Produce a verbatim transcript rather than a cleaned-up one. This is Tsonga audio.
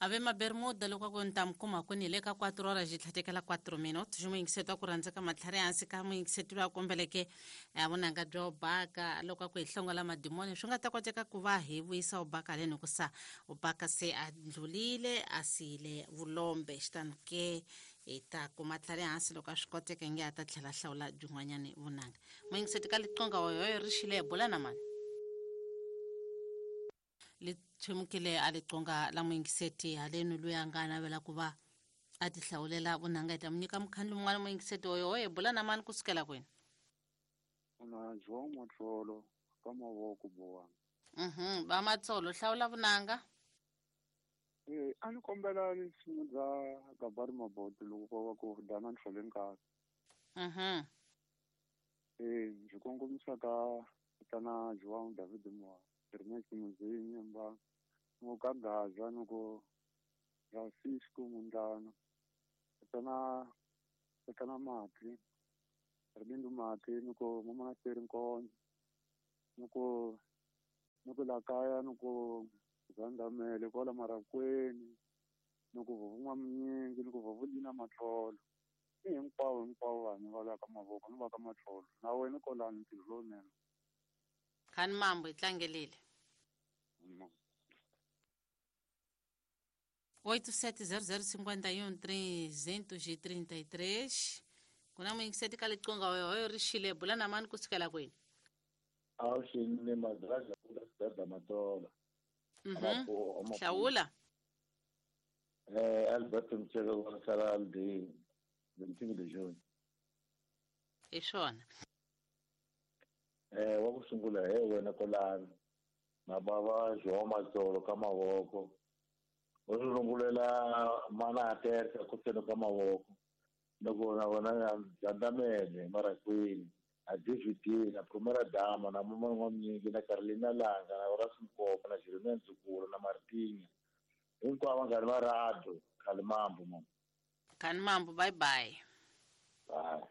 Ave mabermuda loko a ku ni ta mi kuma kwini hi le ka quatro horas yi tlhatekela quatro minutos muyingiseti wa ku rhandza ka matlhari hansi ka muyingiseti loyi a kombeleke eh, vunanga bya ubaka loko a ku hi hlongola madimoni swi nga ta koteka ku va hi vuyisa ubaka haleni hikusa ubaka se a ndlulile a siyile vulombe xitani ke hi ta kuma tlhari hansi loko a swi koteka nge a ta tlhela a hlawula byin'wanyani vunanga. Muyingiseti ka liqonga hoyoyo ri xile bula na mani li tshwemukile a liqonga la muyingiseti haleni loyi a nga navela ku va a ti hlawulela vunanga hi ta mu nyika mukhandlu mun'wana. Muyingiseti hoyohoyo bula na mani kusukela kwini? Una João Matsolo ka mavoko bowana. Mhm, va Matsolo hlawula vunanga. Eh, a ni kombela risimu bya Gabari Maboto loko ko va ku dana ntlhole nkarhi. Mhm. Eh, ndzi kongomisa ka tana João David Moa, Ernest Muzinyi mba ngo ka Gaza ni ku Francisco Mundlana. Tana tana Mati, Rbindu Mati ni ku Mama Seri Nkonzo. Ni ku ni ku la kaya ni ku Zandamele kwala Marakweni ni ku Vuvun'wa Minyingi ni ku Vuvulina Matlolo. I hinkwavo hinkwavo vanhu va la ka mavoko ni va ka Matlolo. Na wena kolani ntirho lowunene. Khani mambo hi tlangelile. Mm. oito sete zero zero cinquenta e um trezentos e trinta e três. Ku na muyingiseti ka liqonga hoyohoyo ri xile bula na mani kusukela kwini? Awuxini madraga ku dada Matola. Mhm. Amapu- amapu- Hlawula. Eh, Alberto Mtshele wa sala de vinte de junho. Hi swona. Eh, wa ku sungula he wena kolani. Na bava João Matsolo ka mavoko. U ri rungulela mana a tersa ku seno ka mavoko. Loko na vona Zandamele Marakwini, a D V D na Primera Dama na Mama N'wamnyingi na Carolina Langa na Horace Mkopa na Jeremiah Ndzukulu na Martinha. Hinkwavo vanghani va radio, Khalimambo mama. Khalimambo, bye bye. Bye.